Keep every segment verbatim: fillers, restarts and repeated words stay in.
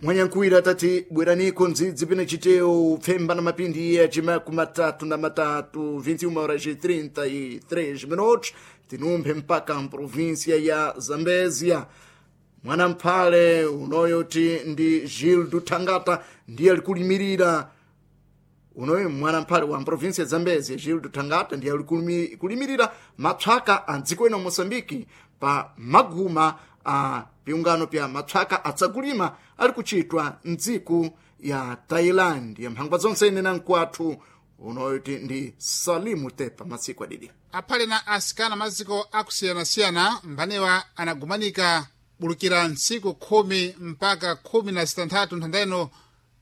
Mwanyankuwira tati bweraniko ndzidzi pene chiteo pfemba na mapindi ya chimaku matatu na matatu vinte e uma horas e trinta e três minutos, tinumphe mpaka mprovinsia ya Zambezia. Mwanamphale unoyoti ndi Gildo Thangata ndiye alikulimirira. Unoyo mwanamphale wa mprovinsia ya Zambezia, Gildo Thangata, ndiye alikulimirira mapsaka a dziko ino Moçambike pa maguma a piungano pya mapsaka atsakulima ali kuchitwa mdziko ya Thailand. Ya mphangwa zonse ine na mkwathu unoyoti ndi Salimu Tepa masiku adidi. Aphale na asikana maziko akusiyana-siyana mbanewa anagumanika bulukira ntsiku khumi mpaka khumi na zitanthatu nthanda ino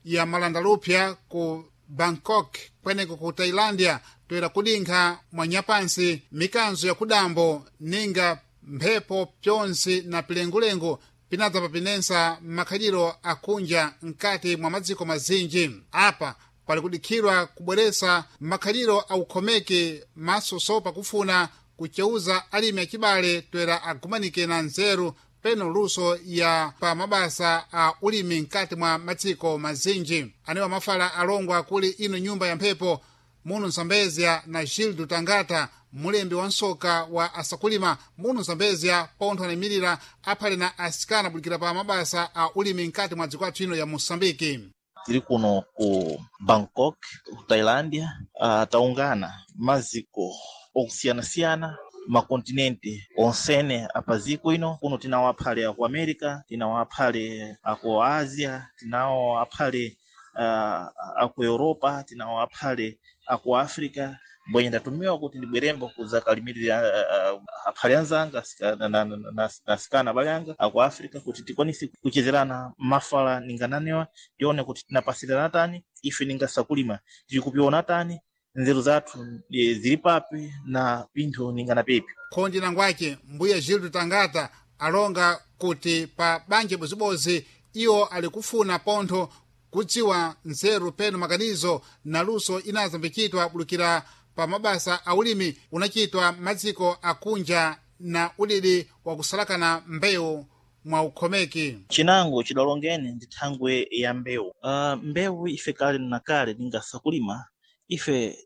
ya malandalupya ku Bangkok kweneko ku Tailandia, toera kudinkha mwanyapansi mikanzo ya kudambo ninga mphepo pyonse na pilengulengu pinadza papinensa makhaliro akunja mkati mwa madziko mazinji. Apa pali kudikhirwa kubweresa makhaliro aukhomeke masoso pakufuna kuceuza alimi acibale toera agumanike na nzeru peno luso ya pa mabasa a ulimi mkati mwa madziko mazinji. Anewa mafala alongwa kuli ino nyumba ya mphepo muno Mzambezia na Gildo Tangata, mulembi wa nsoka wa asakulima muno Mzambezia, pontho anayimirira aphale na asikana bulikira pa mabasa a ulimi mkati mwa dziko athu ino ya Moçambike. Tiri kuno ku Bangkok, ku Tailândia, uh, taungana maziko okusiyana-siyana, makontinente onsene apaziko ino. Kuno tinawo aphale aku America, tinawo aphale aku Asia, tinawo aphale uh, aku Europa, tinawo aphale aku Africa. Mbwenye ndatumiwa kuti ndibwerembo kuzakalimirira uh, uh, aphale anzanga na, na, na, na asikana abale anga aku Africa kuti tikwanise kuchezerana mafala ningananewa, tione kuti tinapasirana tani ife ningasakulima, tiri kupiona tani nzeru zathu zili papi na pinthu ningana pepi. Khondi nangwace mbuya Gildo Tangata alonga kuti pa banja bozibozi iwo ali kufuna pontho kudziwa nzeru peno makanizo na luso inazambicitwa bulukira pa mabasa a ulimi unachitwa madziko akunja na udidi wakusalakana mbewu mwa ukhomeki. Chinango chidalongene ndi thangwe ya mbewu. uh, mbewu ife kale na kale ningasakulima ife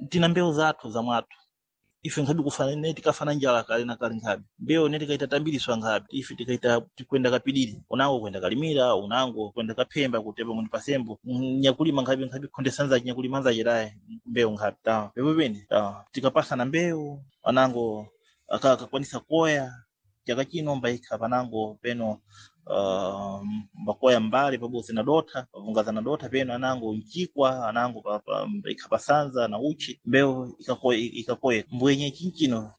tina mbewu zathu za mwathu. Ife nkhabe kufana ne tikafana njala kale na kale, nkhabe mbewu ne tikaita tambiriswa, nkhabe ife tikaita tikwenda kapidiri, unango kwenda kalimira, unango kwenda kaphemba kutepa mundi pasembo nyakulima, nkhabe nkhabe khondesanza nyakulima nzache mbewu nkhabe ta pepo pene ta tikapasana mbewu, anango akakwanisa koya chaka chino mbaikha panango peno uh, mbakoya mbali pabodzi na dotha pavungaza na dotha peno anango mchikwa anango pa, pa, mbaikha pasanza na uchi mbewu ikakoya ikakoya mbwenye chinchino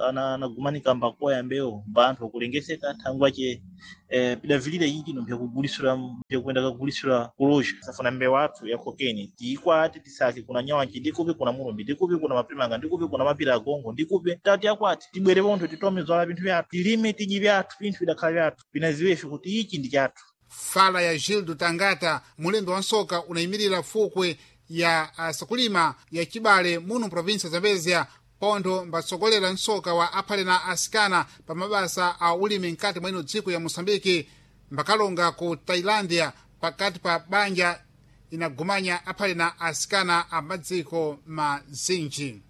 anagumanika mbakoya mbewu mbanthu akulengeseka thangwache eh, pidavilira chinchino mpyakugulisira mpyakuenda kagulisira kuloja. Safuna mbewu athu ya kokeni tiikwate tisake kuna nyawanji ndikupi, kuna mulumbi ndikupi, kuna mapimanga ndikupi, kuna mapira agongo ndikupi, tati akwati tibwere pontho titome zwala pinthu vyathu, tilime tidye vyathu, pinthu vidakhala vyathu pinaziwefe kuti ichi ndi chathu. Fala ya Gildo Tangata, mulembi wa nsoka unayimirira fukwe ya asakulima ya chibale muno provinsia Zambezia, pontho mbatsogolera nsoka wa aphale na asikana pa mabasa a ulimi mkati mwa ino dziko ya Moçambike, mbakalonga ku Tailandia pakati pa banja inagumanya aphale na asikana a madziko mazinji.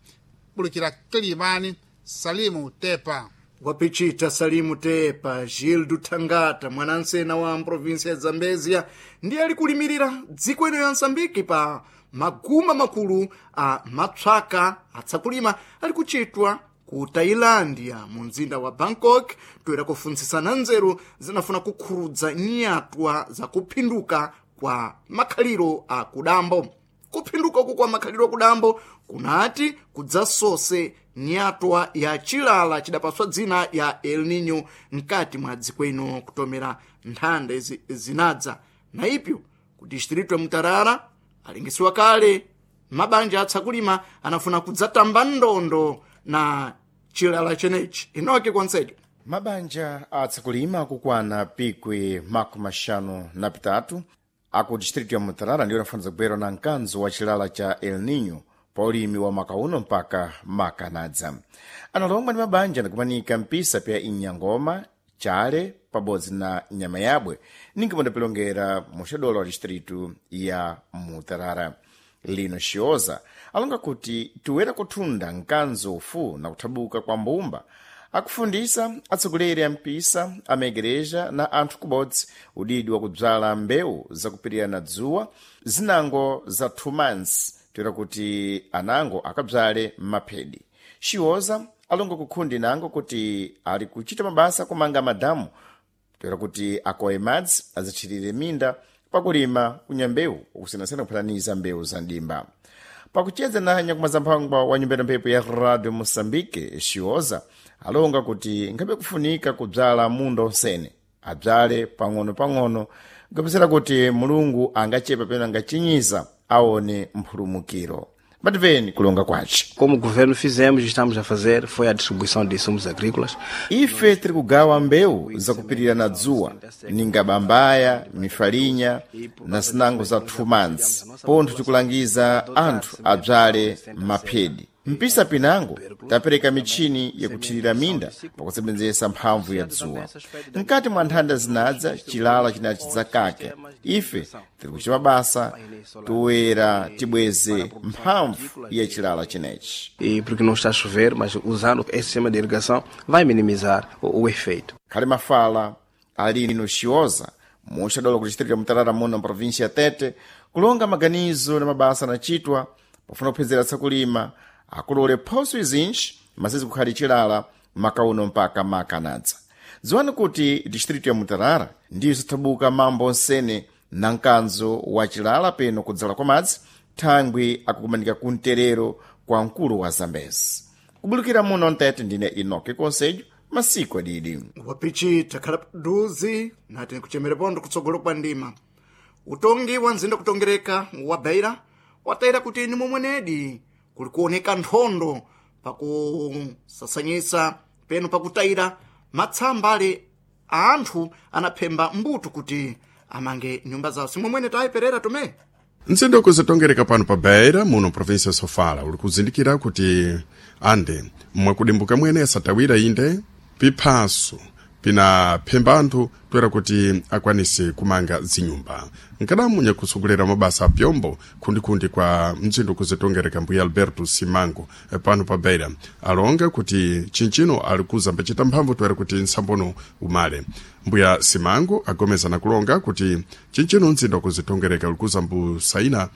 Bulukira Kilimani, Salimu Tepa. Wapichita Salimu Tepa. Gildo Thangata, mwanansena wa mprovinsia ya Zambezia, ndiye ali kulimirira dziko ino ya Msambiki pa maguma makulu a mapsaka atsakulima ali kuchitwa ku Tailandia mu mzinda wa Bangkok, toera kufuntsisana nzeru zinafuna kukhurudza nyatwa za kuphinduka kwa makhaliro a kudambo. Kuphinduka uku kwa makhaliro akudambo kunati kudzasose nyatwa ya chilala chidapaswa dzina ya El Nino mkati mwa dziko ino kutomera nthanda izi zinadza. Na ipyo ku distritu ya Mutarara alingisiwa kale mabanja atsakulima anafuna kudzatamba ndondo na chilala chenechi. Inoke konsejo. Mabanja atsakulima akukwana pikwi makumi axanu na pitatu aku distrito ya Mutarara ndiwo anafaniza kubwera na mkanzo wa chilala cha El Nino pa ulimi wa maka uno mpaka makanadza. Analongwa ndi mabanja anakumanika mpisa pya Inyangoma, Chale pabodzi na nyama yabwe ninga mandapilongera muxadolo wa distritu ya Mutarara. Lino Xioza alonga kuti tiwera kuthunda mkanzo ufu na kuthabuka kwa mbumba akufundisa atsogoleri a mpisa amaigreja na anthu kubodzi udidi wa kubzala mbewu zakupirira na dzuwa zinango za two months toera kuti anango akabzale maphedi. Xioza alonga kukhundi nango kuti ali kuchita mabasa kumanga madamu toera kuti akowe madzi azitchirire minda pakulima kunya mbewu ukusiyanasiyana kuphataniza mbewu za ndimba. Pakucheza na nyakumazamphangwa wa nyumba ya mphepo ya Radio Moçambique, Xioza alonga kuti ngabe kufunika kubzala munda onsene abzale pang'ono-pang'ono kupezera kuti Mulungu angachepa pena angachinyiza aone mphulumukiro. Bativeni kulonga kwace. Como governo fizemos e estamos a fazer foi a distribuição de insumos agrícolas. Ife tiri kugawa mbewu zakupirira na dzuwa ninga bambaya, mifalinya na zinango za two months pontho tikulangiza anthu abzale maphedi. Mpisa pinango tapereka michini yakuthirira minda pakusebenzesa mphamvu ya dzuwa. Mkati mwa nthanda zinadza chilala chinachi zakake ife tiri kuchita mabasa toera tibweze mphamvu ya chilala chinechi. E porque não está a chover, mas usando esse sistema de irrigação vai minimizar o, o efeito. Khali mafala alino Xioza muxadolo ku distrito ya Mutarara muno província ya Tete kulonga maganizo na mabasa anachitwa pofuna kuphezera tsakulima akulole phoso izinji masizi kukhali chilala makauno mpaka makanadza. Dziwani kuti distrito ya Mutarara ndiyo zithabuka mambo onsene na mkanzo wa chilala peno kudzala kwa madzi thangwi akukumanika kumterero kwa mkulu wa Zambezi. Kubulukira muno Mtete ndine Enoque Conselho masiku adidi. Wapichi takhala paduzi nati nikuchemere pondo kutsogolo kwa ndima. Utongi wa mzinda kutongereka wa Beira watayira kuti ni momwenedi kuli kuoneka nthondo pakusasanyisa peno pakutayira matsamba ale a anthu anaphemba mbuto kuti amange nyumba zawo. Simomwene tayiperera tome. Mzinda ukuzitongereka pano pa Beira muno província ya Sofala uli kuzindikira kuti ande mwakudimbuka mwene asatawira inde piphaso pinaphemba anthu toera kuti akwanise kumanga zinyumba. Nkadamu nyakusogolera mabasa apyombo khundikhundi kwa mzinda ukuzitongereka mbuya Alberto Simango pano pa Beira alonga kuti chinchino ali kuzambacita mphamvu toera kuti nsambono umale. Mbuya Simango agomeza na kulonga kuti chinchino mzinda ukuzitongereka uli kuzambusaina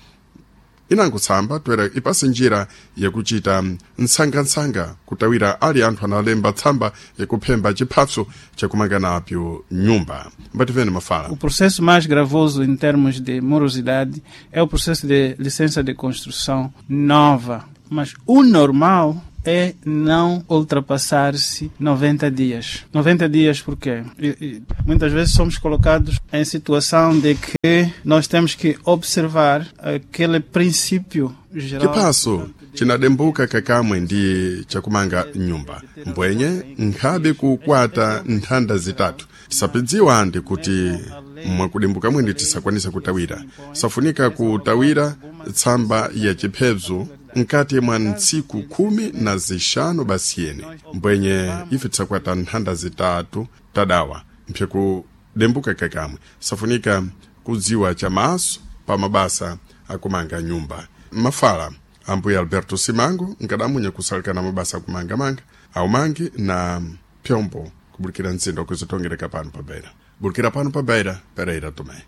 inangotsamba toera ipase njira yakuchita nsangansanga kutawira ali anthu analemba tsamba yakuphemba chiphatso chakumanga napyo nyumba. Mbativene mafala. O processo mais gravoso em termos de morosidade é o processo de licença de construção nova. Mas o normal é não ultrapassar-se noventa dias. noventa dias porquê? E, e, muitas vezes somos colocados em situação de que nós temos que observar aquele princípio geral. Chiphaso chinadembuka kakamwe ndi chakumanga nyumba mbwenye nkhabe kukwata nthanda zitatu tisapidziwa andi kuti mwakudimbuka mwene tisakwanisa kutawira. Safunika kutawira tsamba ya chiphezo mkati mwa ntsiku khumi na zixanu basiyene mbwenye ife tisakwata nthanda zitatu tadawa mphyakudembuka kakamwe safunika kudziwa chamaso pa mabasa akumanga nyumba. Mafala ambuya Alberto Simango nkadamunya kusalikana mabasa akumangamanga aumangi na pyombo kubulikira mzinda ukuzitongereka pano pa Beira. Bulikira pano pa Beira, Pereira Tomé.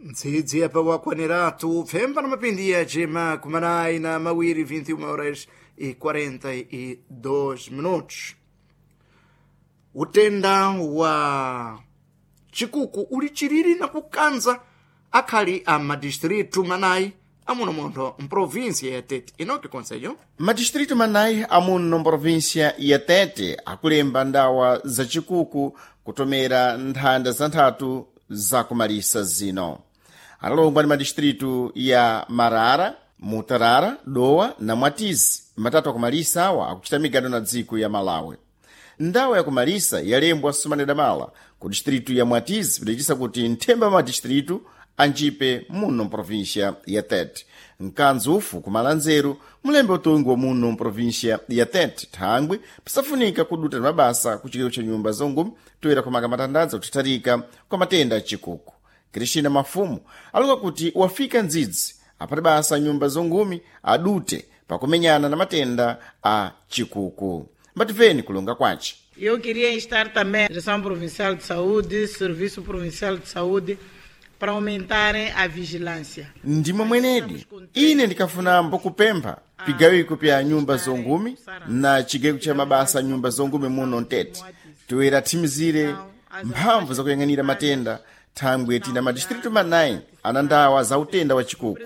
Ntsitsi apa wakwaniratu pfemba na mapindi yacima kumanayi na mawiri vinte e uma horas e quarenta e dois minutos. Utenda wa chikuku uli chiriri na kukanza akhali a madistritu manayi amuno munthu mprovinsia ya Tete. Inoki Conselho? Madistritu manayi amuno mprovinsia ya Tete akulemba ndawa za chikuku kutomera nthanda za nthatu zakumalisa zino. Analongwa ndi madistritu ya Marara, Mutarara, Dowa na Mwatizi. Matatu akumalisa awa akuchita migado na dziko ya Malawi. Ndawa yakumalisa yalembwa sumanedamala ku distritu ya Mwatizi pidachisa kuti nthemba ma distritu anjipe muno mprovíncia ya Tete. Mkanzi ufu kumalanzeru mulembe utungi wa muno mprovíncia ya Tete thangwi pisafunika kuduta na mabasa ku chikero cha nyumba zongumi toera kumanga matandadza kuthatharika kwa matenda achikuku. Cristina Mafumu alonga kuti wafika ndzidzi apati basa nyumba zongumi adute pakumenyana na matenda a chikuku. Mbativeni kulonga kwace. Eu queria instar também a Direção Provincial de Saúde, Serviço Provincial de Saúde, para aumentarem a vigilância. Ndimo mwenedi ine ndikafuna mbokupempha pigawiko pya nyumba zongumi na chigeko cha mabasa nyumba zongumi muno mtete toera thimizire mphamvu zakuyang'anira matenda thangwe tina madistritu manayi ana ndawa za utenda wa chikuku.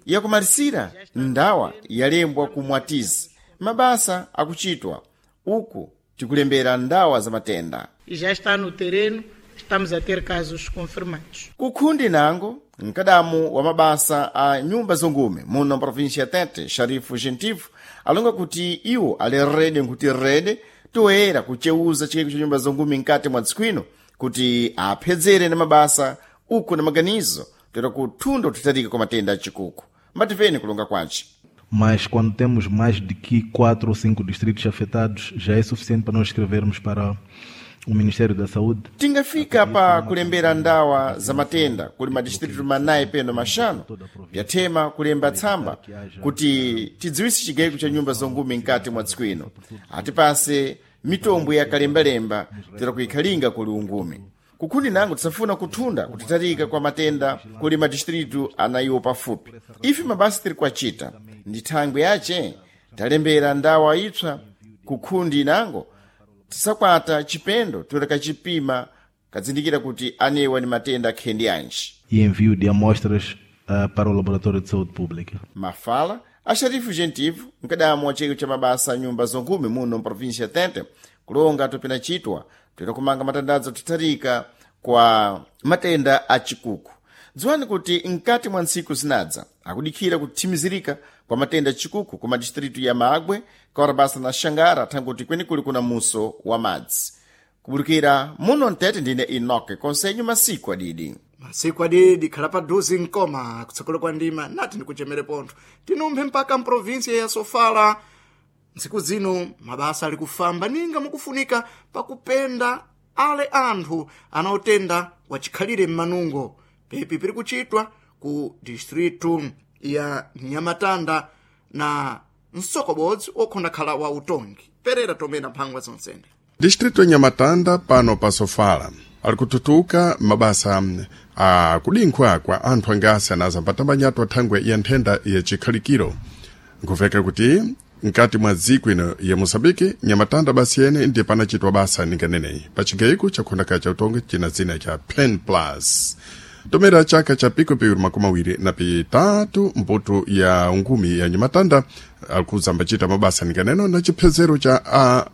Yakumalisira ndawa yalembwa ku Mwatizi mabasa akuchitwa uku tikulembera ndawa za matenda. E já está no terreno, estamos a ter casos confirmados. Kukhundi nango mkadamu wa mabasa a nyumba zongume muno mprovíncia ya Tete, Sharifu Gentivo, alonga kuti iwo ali rede nkuti rede toera kucheuza chikeko cha nyumba zongume mkati mwa dziko ino kuti aphedzere na mabasa uku na maganizo toera kuthunda kuthatharika kwa matenda achikuku. Mbativeni kulonga kwace. Mas quando temos mais de que quatro ou cinco distritos afetados, já é suficiente para nós escrevermos para o Ministério da Saúde. Tingafika pa kulembera ndawa za matenda kuli madistritu manayi peno maxanu byathema kulemba tsamba kuti tidziwise chigayiko cha nyumba zongume mkati mwa dziko ino atipase mitombo ya kalembalemba tera kuikhalinga kuli ungumi. Kukhundi nango tisafuna kuthunda kutitharika kwa matenda kuli madistritu anayiwo pafupi. Ife mabasa tiri kuacita ndi thangwi yace talembera ndawa ipsa kukhundi nango tisakwata chipendo toera kachipima kadzindikira kuti anewa ni matenda akhendi anji. E envio de amostras uh, para o Laboratório de Saúde Pública. Mafala a Sharifu Gentivo, mkadamu wa chiko cha mabasa a nyumba zongume muno mprovíncia ya Tete, kulonga topena chitwa toera kumanga matandadzo kuthatharika kwa matenda a chikuku. Dziwani kuti mkati mwa ntsiku zinadza akudikhira kuthimizirika kwa matenda achikuku ku madistritu ya Magwe, Kaurabasa na Xangara thanguti kwenikuli kuna muso wa madzi. Kubulukira muno mtete ndine Enoke Konsenyo masiku adidi. Masiku adidi khala paduze mkoma kutsogolo kwa ndima nati ndikuchemere pontho tinumphe mpaka mprovinsia ya Sofala. Ntsiku zino mabasa ali kufamba ninga mukufunika pakupenda ale anthu anaotenda wachikhalire m'manungo pepi piri kuchitwa ku distritu ya Nyamatanda na msokobodzi okhondakhala wa utongi. Perera tomena mphangwa zonsene. Distrito ya Nyamatanda pano pa Sofala ali kututuka mabasa a kudinkhwa kwa anthu angasi anazambatambanyatu athangwe ya nthenda ya chikhalikiro. Nkuveka kuti mkati mwa dziko ino ya Moçambique, Nyamatanda basi yene ndiye panachitwa basa ninganeneyi pachigayiko chakhondakhala cha utongi china dzina cha Pen Plus. Tomera chaka cha piko piwiri makumi awiri na pitatu mputu ya ungumi ya Nyamatanda akuzambachita mabasa ninganeno na chiphezero cha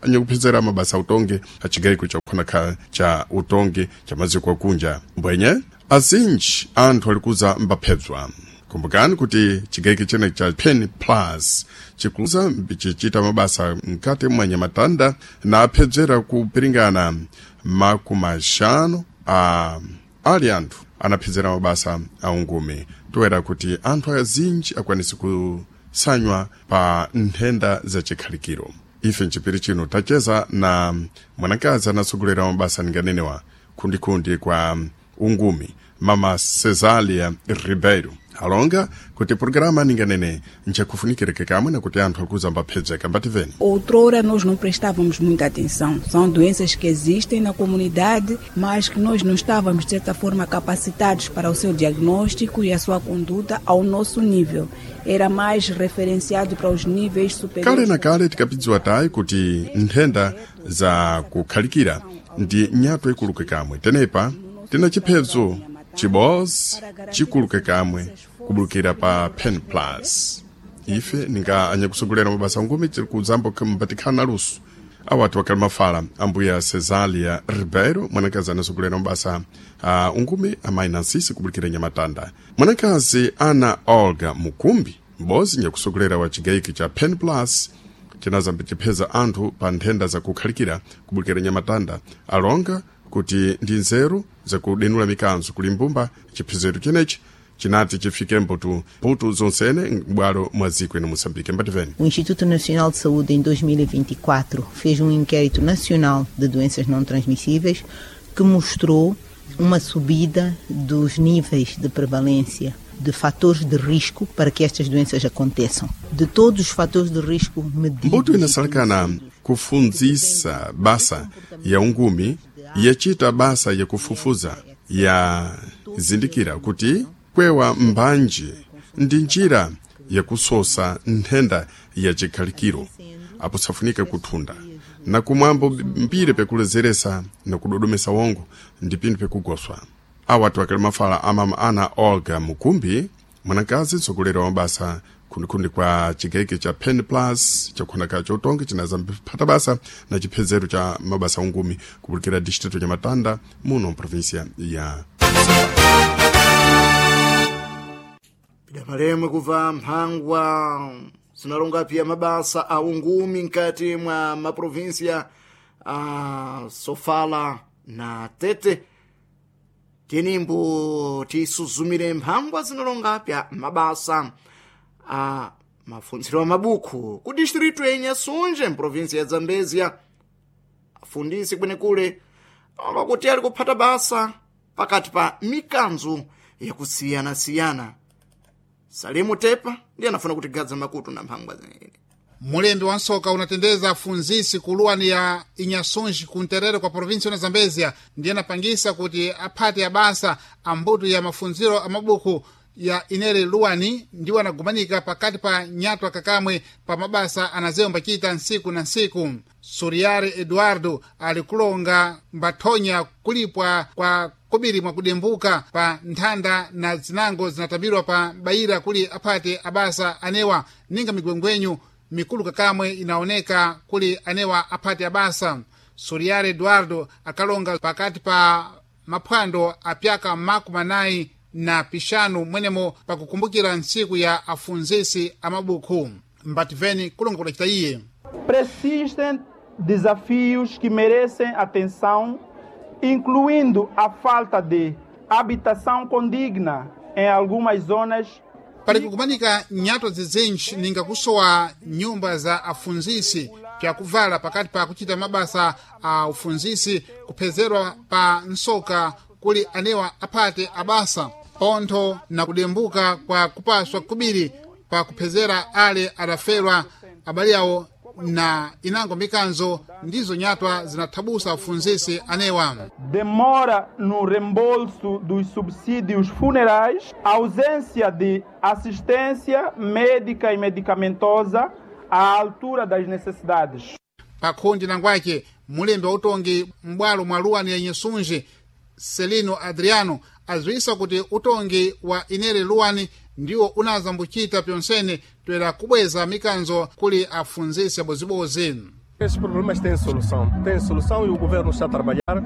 anyakuphezera mabasa utongi achigayiko chakukhonakhala cha utongi cha maziko akunja mbwenye azinji anthu alikuza mbaphedzwa. Kumbukani kuti chigayiko chene cha Pen Plus chikuza chichita mabasa mkati mwa Nyamatanda na aphedzera kupiringana makumi axanu a ali anthu anaphedzera mabasa a ungumi toera kuti anthu azinji akwanise kusanywa pa nthenda zachikhalikiro. Ife mchipiri chino tacheza na mwanakazi anatsogolera mabasa ninganenewa khundikhundi kwa ungumi mama Cesália Ribeiro alonga kuti programa ninganene nchakufunikireke kamwe na kuti anthu akuzamba phedzeka mbativeni. Outrora nós não prestávamos muita atenção. São doenças que existem na comunidade, mas que nós não estávamos, de certa forma, capacitados para o seu diagnóstico e a sua conduta ao nosso nível. Era mais referenciado para os níveis superiores. Kale na kale tikapidziwa tayi kuti nthenda za kukhalikira ndi nyato ikuluke kamwe. Tenepa tina chiphedzo chibozi chikuluke kamwe kubulukira pa Pen Plus. Ife ninga anyakusogolera mabasa ngumi tiri kuzambo mbatikhala na luso awati wakali mafala ambuya Cesália Ribeiro mwanakazi anasogolera mabasa a ungumi amayi Nansisi kubulukira Nyamatanda. Mwanakazi Ana Olga Mukumbi mbozi nyakusogolera wa chigayiko cha Pen Plus chinazambe chipheza anthu pa nthenda zakukhalikira kubulukira Nyamatanda alonga kuti ndi nzeru zakudenula mikanzo kuli mbumba chiphezero chenechi chinati chifike mbutu mbutu zonsene m'bwalo mwa dziko ino Moçambique. Mbativeni. O Instituto Nacional de Saúde, em dois mil e vinte e quatro, fez um inquérito nacional de doenças não transmissíveis que mostrou uma subida dos níveis de prevalência de fatores de risco para que estas doenças aconteçam. De todos os fatores de risco medidos... Mbuto inasalakana kufunzisa basa ya ungumi yachita basa ya kufufuza ya zindikira kuti kwewa mbanji ndi njira yakusosa nthenda ya chikhalikiro apo safunika kuthunda na kumwambo mbiri pekulezeresa na kudodomesa wongo ndi pinthu pekugoswa. Awatu akali mafala amama ana Olga Mukumbi, mwanakazi mtsogoleri wa mabasa khundikhundi kwa chigaike cha Pen Plus chakukhonaka chotonge chinaza mphata basa na chiphezero cha mabasa ungumi kupulikira distrito cha Matanda muno mprovinsia ya Pidapalemwe kubva mphangwa zinalonga pia mabasa a ungumi nkati mwa maprovinsia a Sofala na Tete. Tenimbo tisuzumire mphangwa zinalonga pya mabasa a mafunziro a mabuku ku distrito ya Inhasunge mprovinsia ya Zambezia. Afundisi kwenekule alonga kuti ali kuphata basa pakati pa mikanzo yakusiyana-siyana. Salimu Tepa ndiye anafuna kutigadza makutu na mphangwa zenene. Mulembi wa nsoka unatendeza afunzisi ku luwani ya Inhasunge ku nterere kwa provinsi ya Zambezia ndiye anapangisa kuti aphate abasa ambuto ya mafunziro a mabuku ya inere luwani ndiwo anagumanika pakati pa nyatwa kakamwe pa mabasa anazewo mbachita nsiku na nsiku. Suriare Eduardo alikulonga mbathonya kulipwa kwa kobiri mwakudembuka pa nthanda na zinango zinatambirwa pa bayira kuli aphate abasa anewa ninga migwengwenyu mikulu kakamwe inaoneka kuli anewa aphate abasa. Suriare Eduardo akalonga pakati pa maphwando apyaka makumi anayi na pixanu mwenemo pakukumbukira ntsiku ya afunzisi amabuku. Mbativeni kulonga kudacita iye. Persistem desafios que merecem atenção, incluindo a falta de habitação condigna em algumas zonas. Pali kukumanika nyato zizinji ninga kusowa nyumba za afunzisi pyakuvala pakati pa kuchita mabasa a ufunzisi kuphezerwa pa nsoka kuli anewa aphate abasa pontho na kudembuka kwa kupaswa kubiri pa kuphezera ale adaferwa abale awo na inango mikanzo ndizo nyatwa zinathabusa afunzisi anewa. Demora no reembolso dos subsídios funerais, ausência de assistência médica e medicamentosa à altura das necessidades. Pakhundi nangwake mulembi wa utongi m'bwalo mwa luwani ya Inhasunge Celino Adriano aziwisa kuti utongi wa inere luwani ndiwo unazambuchita pyonsene toera kubweza mikanzo kuli afunzisi abozibozi. Esses problemas têm solução. Têm solução e o governo está a trabalhar.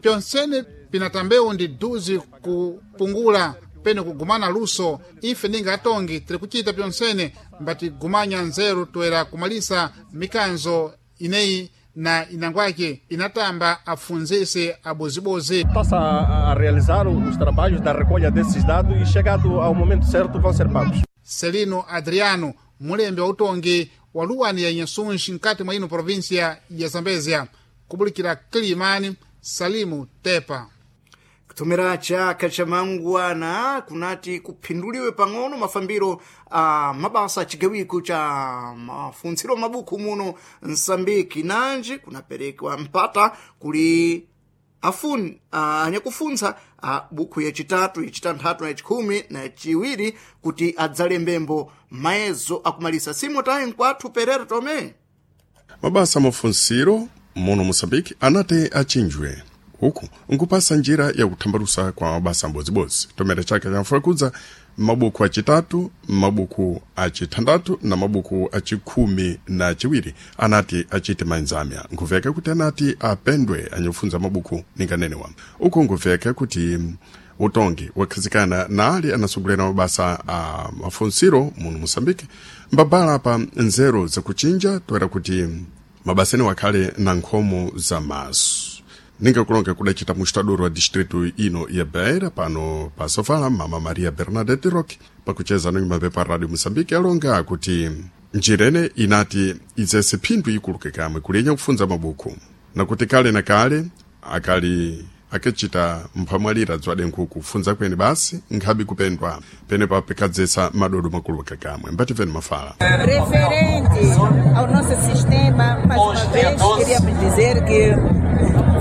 Pyonsene pinatambewu ndi duzi kupungula pene kugumana luso ife ninga atongi tiri kuchita pyonsene mbatigumanya nzeru toera kumalisa mikanzo ineyi na inangwake inatamba afunzisi abozibozi. Passa a, a realizar os trabalhos da recolha desses dados e chegado ao momento certo vão ser pagos. Celino Adriano, mulembi wa utongi wa luwani ya Inhasunge nkati mwa ino província ya Zambezia, kubulikira Kilimani, Salimu Tepa. Kutumira chaka cha mangwana kunati kuphinduliwe pang'ono mafambiro a mabasa a chigawiko cha mafuntsiro mabuku muno Msambiki nanji kunaperekwa mpata kuli afun anyakufuntsa a buku yachitatu, yachitanthatu na yachikhumi na yachiwiri kuti adzalembembo mayezo akumalisa. Simotayi nkwathu Perera Tome. Mabasa mafunsiro muno Moçambique anati achinjwe uku nkupasa njira ya kuthambalusa kwa mabasa ambodzibodzi tomera chake chamfulakudza mabuku acitatu, mabuku acithandathu na mabuku acikhumi na ciwiri anati acite manzamya. Nkuveka kuti anati apendwe anyakufunza mabuku ninganenewa. Uku nkuveka kuti utongi wakhazikana na ali anasogolera mabasa a mafunsiro muno Moçambique mbabala pa nzeru zakuchinja toera kuti mabasa ene wakhale na nkhomo za maso. Ninga kulonga kudacita mustadoro wa distrito ino ya Beira pano pa Sofala mama Maria Bernadette Roque pakucheza no pa Radio Moçambique alonga kuti njirene inati idzese phindu ikuluke kamwe kulenya kufunza mabuku nakuti kale na kale akali akechita mphamwalira dzwade nkhuku kufunza kwene basi nkhabi kupendwa penepa pikadzesa madodo makulu kakamwe mbativeni mafala. Referente ao nosso sistema, mais uma vez queríamos dizer que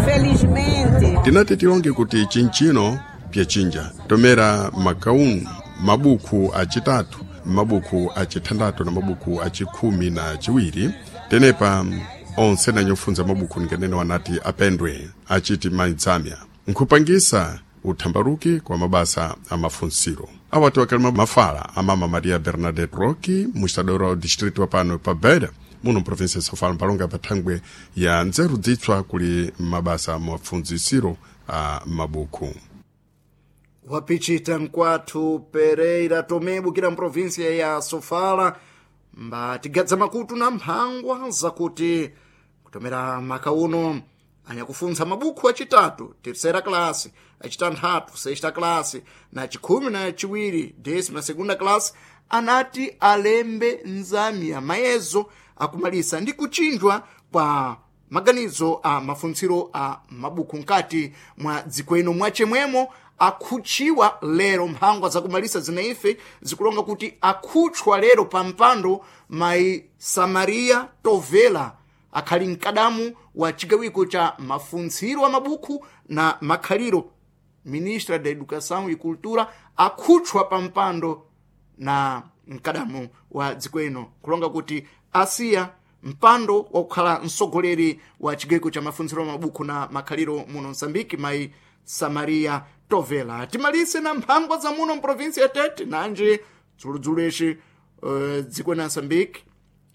felizmente tinati tilonge kuti chinchino pyachinja tomera makaunu mabuku acitatu mabuku acithandatu na mabuku acikhumi na ciwiri tenepa onse nanyofunza mabuku ninganene wanati apendwe achiti maidzamya nkhupangisa uthambaruki kwa mabasa amafunsiro awati wakalima mafala amama Maria Bernadette Roque mustadoro wa distrito wa pano pa Beira muno provinsia ya Sofala mpalonga pathangwe ya nzeru dzitswa kuli mabasa amafunzisiro a mabuku. Wapichita nkwathu Pereira Tomé bukira mprovinsia ya Sofala mbatigadza makutu na mphangwa zakuti kutomera maka uno anyakufuntsa mabukhu acitatu terceira classe, acitanthatu sexta classe na acikhumi na ciwiri décima segunda classe anati alembe nzamya mayezo akumalisa ndi kuchinjwa kwa maganizo a mafuntsiro a mabuku nkati mwa dziko ino mwachemwemo akhuchiwa lero mphangwa zakumalisa zinaife zikulonga kuti akhutchwa lero pa mpando mayi Samaria Tovela akhali mkadamu wa chigawiko cha mafuntsiro a mabuku na makhaliro ministra da Educação e Cultura akhutchwa pa mpando na mkadamu wa dziko ino kulonga kuti asiya mpando wakukhala mtsogoleri wa chigawiko cha mafuntsiro a mabuku na makhaliro muno Msambiki mayi Samaria Tovela. Timalise na mphangwa za muno mprovinsi ya Tete nanje dzuludzulo ici uh, dziko na Msambiki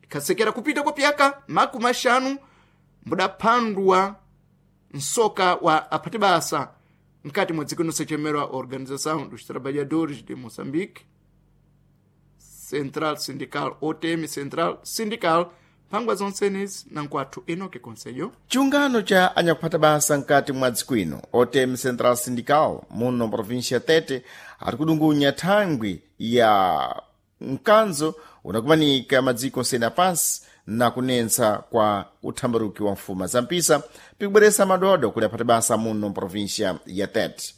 ikhasekera kupita kwa pyaka makumi axanu mbudaphandwa msoka wa aphati basa mkati mwa dziko inosechemerwa Organização dos Trabalhadores de Moçambique Central Sindical O T M Central Sindical mphangwa zonsenezi na nkwathu Enoque Conselho. Chiungano cha anyakuphata basa mkati mwa dziko ino O T M Central Sindical muno província ya Tete ari kudungunya thangwi ya mkanzo unakumanika madziko onsene apansi na kunentsa kwa uthambaruki wa mfuma za mpisa pikubweresa madodo kuli aphata basa muno província ya Tete.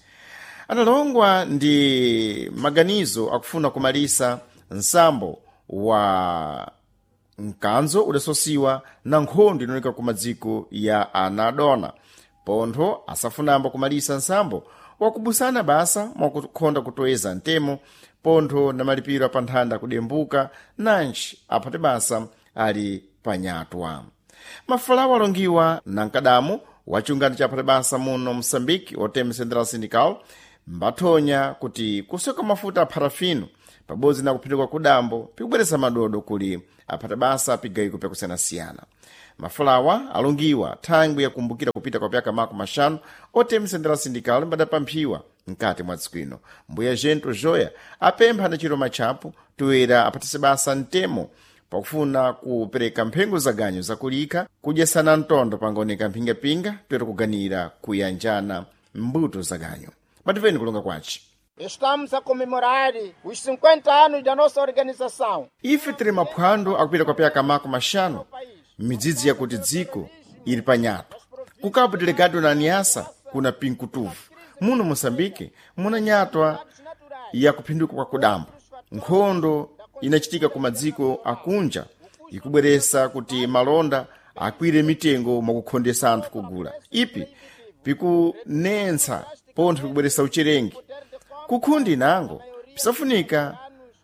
Analongwa ndi maganizo akufuna kumalisa nsambo wa mkanzo udasosiwa na nkhondo inooneka ku madziko ya anadona pontho asafunambo kumalisa nsambo wakubusana basa mwakukhonda kutoeza ntemo pontho na malipiro apanthanda kudembuka nanji aphate basa ali panyatwa. Mafalawo alongiwa na mkadamu wa chiungano cha aphate basa muno Msambiki O T M Central Sindical mbathonya kuti kusoka mafuta a parafino pabodzi na kuphinduka kudambo pikubweresa madodo kuli aphata basa pigayiko pyakusiyanasiyana. Mafulawa alongiwa thangwi yakumbukira kupita kwa pyaka makumi maxanu O T M Central Sindical mbadapamphiwa mkati mwa dziko ino. Mbuya Gento Joya apempha na chiro matchapo toera aphatise basa mtemo pakufuna kupereka mphengo za ganyo zakulikha kudyesana mtondo pangaoneka mphingapinga toera kuganira kuyanjana mbuto za ganyo. Mativeni kulonga kwaci. Estamos a comemorar os cinquenta anos da nossa organização. Ife tiri maphwando akupita kwa pyaka makumi maxanu midzidzi yakuti dziko ili panyato. Ku Cabo Delgado na Niassa kuna pinkutuvu. Muno Moçambique muna nyatwa ya kuphinduka kwa kudambo. Nkhondo inachitika ku madziko akunja ikubweresa kuti malonda akwire mitengo mwakukhondesa anthu kugula. Ipi pikunentsa pontho pikubweresa ucherengi. Kukhundi nango pisafunika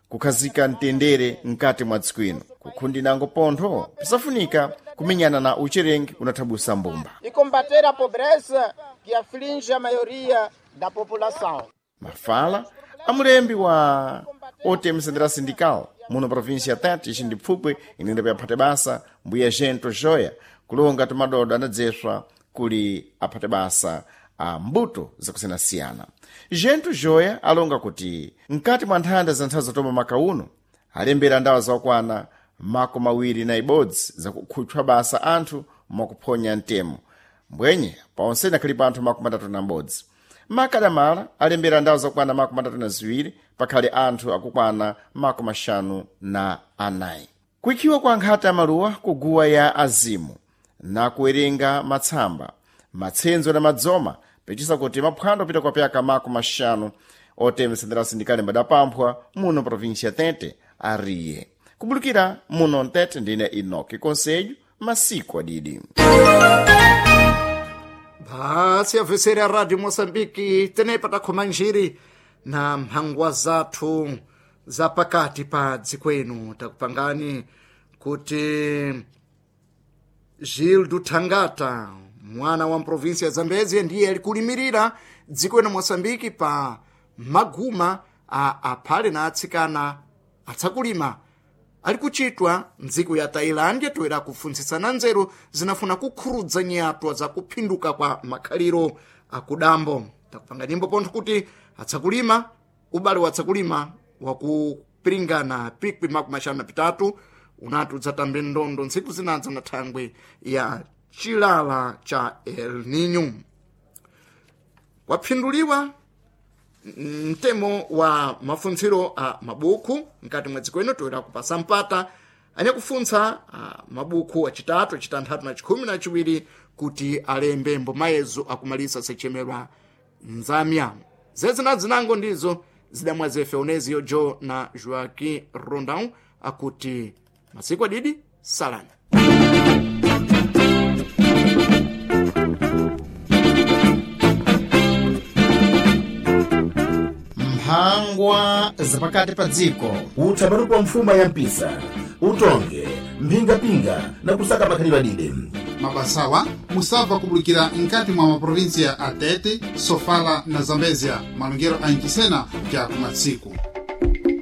kukhazika mtendere mkati mwa dziko ino. Kukhundi nango pontho pisafunika kumenyana na ucherengi unathabusa mbumba. E combater a pobreza que aflige a maioria da população. Mafala amulembi wa O T M Central Sindical muno província ya Tete ixi ndi pfupwi inenda pyaphate basa mbuya Gento Joya kulonga tumadodo anadzeswa kuli aphate basa a mbuto zakusiyanasiyana. Gento Joya alonga kuti mkati mwa nthanda za nthawi zatoma makauno alembera ndawa zakwana makumi awiri na ibodzi zakukhutchwa basa anthu mwakuphonya mtemo. Mbwenye paonsene akhalipo anthu makumi atatu na m'bodzi. Makadamala alembera ndawu zakukwana makumi atatu na ziwiri pakhale anthu akukwana makumi axanu na anayi. Kuikhiwa kwa nkhata ya maluwa kuguwa ya azimu na kuwerenga matsamba, matsenzo na madzoma pechisa kuti maphwando apita kwa pyaka makumi axanu otemesendera sindikali mbadapamphwa muno província ya Tete ariye. Kubulukira muno Ntete ndine Enoki Conselho, masiku adidi. Basi avesera Radio Moçambique tenepa takhoma njiri na mphangwa zathu za pakati pa dziko ino. Takupangani kuti Gildo Thangata mwana wa mprovinsi ya Zambezia ndiye alikulimirira dziko ino Moçambique pa maguma a aphale na atsikana atsakulima ali kuchitwa mdziko ya Tailândia toera kufuntsitsana nzeru zinafuna kukhurudza nyatwa za kuphinduka kwa makhaliro akudambo. Takupanga nyimbo pontho kuti atsakulima ubale wa atsakulima wakupiringana pikwi makumi axanu na pitatu unati udzatambe ndondo ntsiku zinadza na thangwe ya chilala cha El Nino. Waphinduliwa mtemo wa mafuntsiro a mabuku mkati mwa dziko ino toera kupasa mpata anyakufuntsa a mabuku acitatu, acitanthatu na chikhumi na chiwiri kuti alembe mbomayezo akumalisa sechemerwa nzamya. Zezina zinango ndizo zidamwa zefe Onezio Jo na Joaquim Rondão akuti masiku adidi salani. Mphangwa zapakati pa dziko. Uthambarupa wa mfuma ya mpisa, utonge, mphingapinga na kusaka makhalidwe adide. Mabasawa musabva kubulukira nkati mwa maprovinsia a Tete, Sofala na Zambezia, malongero a Ncisena ja kumatsiku.